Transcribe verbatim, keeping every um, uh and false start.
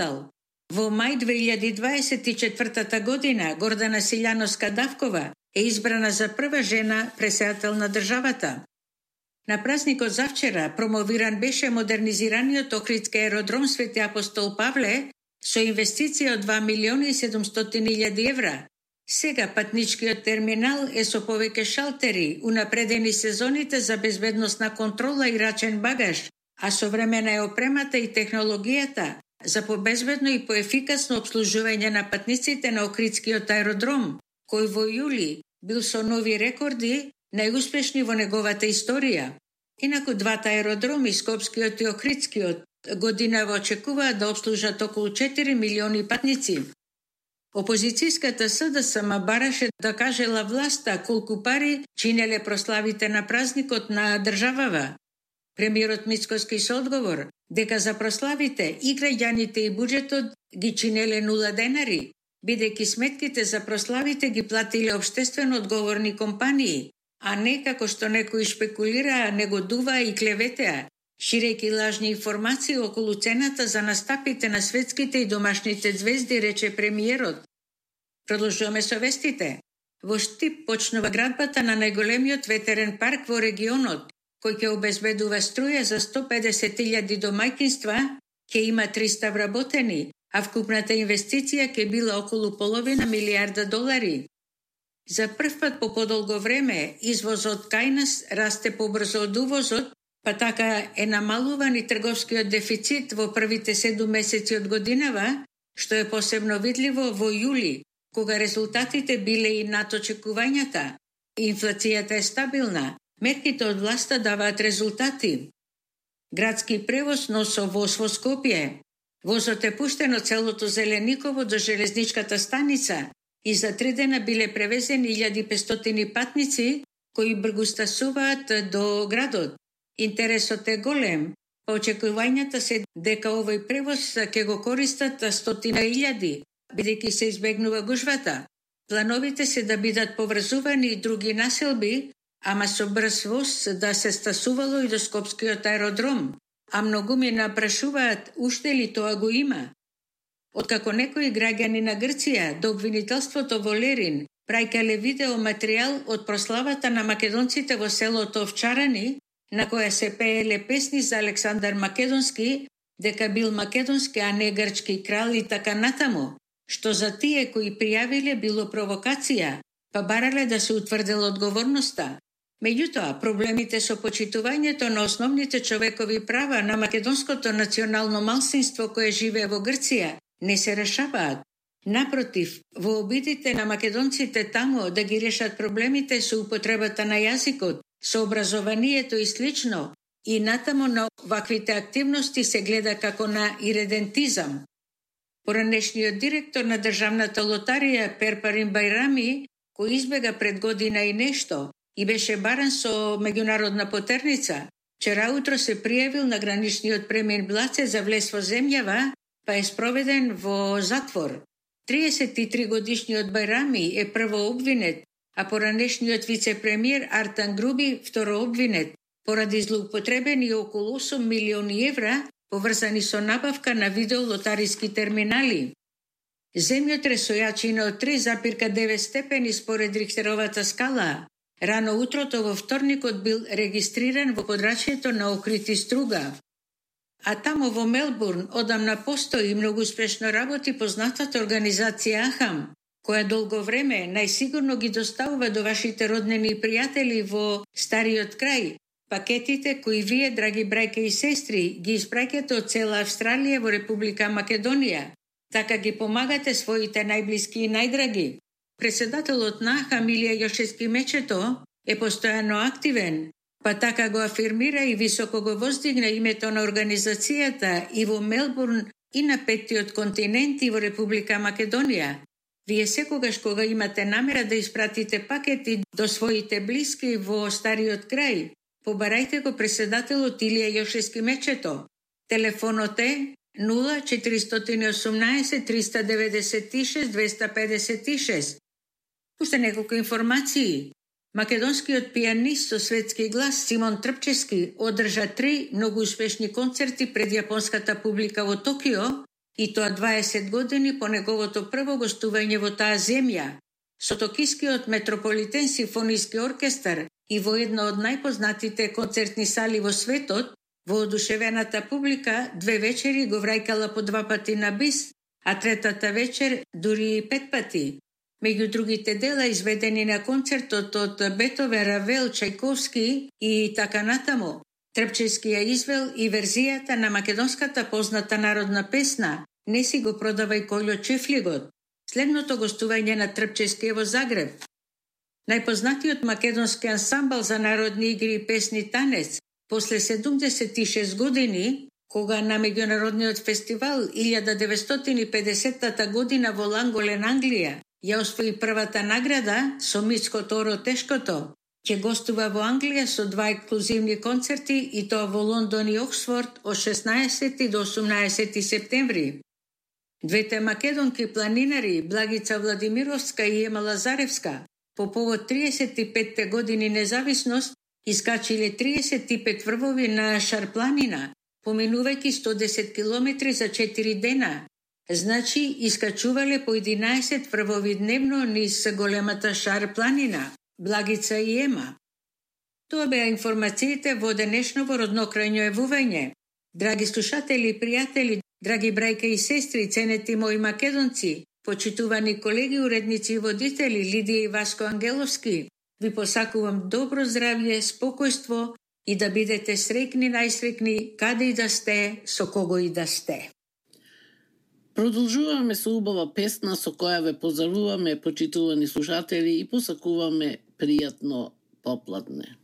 скандал. Во мај две илјади дваесет и четвртата година Гордана Силјановска-Давкова е избрана за прва жена претседател на државата. На празникот завчера промовиран беше модернизираниот Охридски аеродром Свети Апостол Павле со инвестиција од два милиони и седумстотини илјади евра. Сега патничкиот терминал е со повеќе шалтери, унапредени сезоните за безбедносна контрола и рачен багаж, а современа е опремата и технологијата за побезбедно и поефикасно обслужување на патниците на Охридскиот аеродром, кој во јули бил со нови рекорди најуспешни во неговата историја. Инаку двата аеродроми, Скопскиот и Охридскиот, годинава очекуваат да обслужат околу четири милиони патници. Опозицијската СДСМ бараше да кажела власта колку пари чинеле прославите на празникот на државава. Премиерот Мицкоски со одговор дека за прославите и граѓаните и буџетот ги чинеле нула денари, бидејќи сметките за прославите ги платиле обштествено одговорни компании, а не како што некои шпекулираа, негодуваа и клеветеа, ширејќи лажни информации околу цената за настапите на светските и домашните звезди, рече премиерот. Продолжуваме со вестите. Во Штип почнува градбата на најголемиот ветерен парк во регионот, кој ќе обезбедува струја за сто педесет илјади домаќинства, ќе има триста вработени, а вкупната инвестиција ќе била околу половина милијарда долари. За прв пат по подолго време извозот кај нас расте побрзо од увозот, па така е намалуван и трговскиот дефицит во првите седум месеци од годинава, што е посебно видливо во јули, кога резултатите биле и над очекувањата. Инфлацијата е стабилна, мерките од власта даваат резултати. Градски превоз носо воз во Скопје. Возот е пуштен од селото Зелениково до железничката станица и за три дена биле превезени илјада и петстотини патници кои бргустасуваат до градот. Интересот е голем, па очекувањата се дека овој превоз ќе го користат стотина илјади, бидејќи се избегнува гужвата. Плановите се да бидат поврзувани и други населби, ама со брз воз да се стасувало и до Скопскиот аеродром, а многу ми напрашуваат уште ли тоа го има. Откако некои граѓани на Грција до обвинителството во Лерин праќале видео материјал од прославата на македонците во селото Овчарани, на која се пееле песни за Александар Македонски, дека бил македонски, а не грчки крал и така натаму, што за тие кои пријавиле било провокација, па барале да се утврдела одговорноста. Меѓутоа, проблемите со почитувањето на основните човекови права на македонското национално малцинство кое живее во Грција не се решаваат. Напротив, во обидите на македонците таму да ги решат проблемите со употребата на јазикот, со образованието и слично, и натаму на ваквите активности се гледа како на иредентизам. Поранешниот директор на Државната лотарија Перпарин Байрами, кој избега пред година и нешто и беше баран со меѓународна потерница, вчера утро се пријавил на граничниот премин Блаце за влез во земјава, па е спроведен во затвор. триесет и три годишниот Байрами е прво обвинет, а поранешниот вице-премиер Артан Груби второ обвинет, поради злоупотребени околу осум милиони евра поврзани со набавка на видеолотариски терминали. Земјотрес со јачина од три запир девет степени според Рихтеровата скала. Рано утрото во вторникот бил регистриран во подрачјето на Охрид и Струга. А тамо во Мелбурн одамна постои и многу успешно работи познатата организација Ахам, која долго време најсигурно ги доставува до вашите роднини и пријатели во стариот крај пакетите кои вие, драги брајке и сестри, ги испраќате од цела Австралија во Република Македонија. Така ги помагате своите најблиски и најдраги. Председателот на Ахам Илија Јошевски Мечето е постојано активен, па така го афирмира и високо го воздигна името на организацијата и во Мелбурн и на петтиот континент и во Република Македонија. Вие секогаш кога имате намера да испратите пакети до своите блиски во стариот крај, побарајте го председателот Илија Јошевски Мечето. Телефонот е нула четиристотини и осумнаесет триста деветдесет и шест двеста педесет и шест. Уште неколку информации. Македонскиот пианист со светски глас Симон Трпчевски одржа три многу успешни концерти пред јапонската публика во Токио, и тоа дваесет години по неговото прво гостување во таа земја, со Токискиот метрополитен симфониски оркестар и во една од најпознатите концертни сали во светот, воодушевената публика две вечери го враќала по два пати на бис, а третата вечер дури и пет пати. Меѓу другите дела изведени на концертот од Бетовен, Равел, Чајковски и така натаму, Трпчевски ја извел и верзијата на македонската позната народна песна "Не си го продавај Кољо чифлигот", следното гостување на Трпчевски во Загреб. Најпознатиот македонски ансамбл за народни игри и песни Танец, после седумдесет и шест години, кога на меѓународниот фестивал илјада деветстотини и педесетата година во Ланголен, Англија, ја освои првата награда со Мицко Торо Тешкото, ќе гостува во Англија со два ексклузивни концерти и тоа во Лондон и Оксфорд од шеснаесети до осумнаесети септември. Двете македонки планинари, Благица Владимировска и Ема Лазаревска, по повод триесет и петте години независност, искачиле триесет и пет врвови на Шарпланина, поминувајќи сто десет километри за четири дена. Значи, искачувале по единаесет врвови дневно низ големата Шарпланина, Благица и Ема. Тоа беа информациите во денешново роднокрајно евување. Драги слушатели и пријатели, драги брајка и сестри, ценети мои македонци, почитувани колеги, уредници и водители Лидија и Васко Ангеловски, ви посакувам добро здравје, спокојство и да бидете среќни, најсреќни, каде и да сте, со кого и да сте. Продолжуваме со убава песна со која ве поздравуваме, почитувани слушатели, и посакуваме пријатно попладне.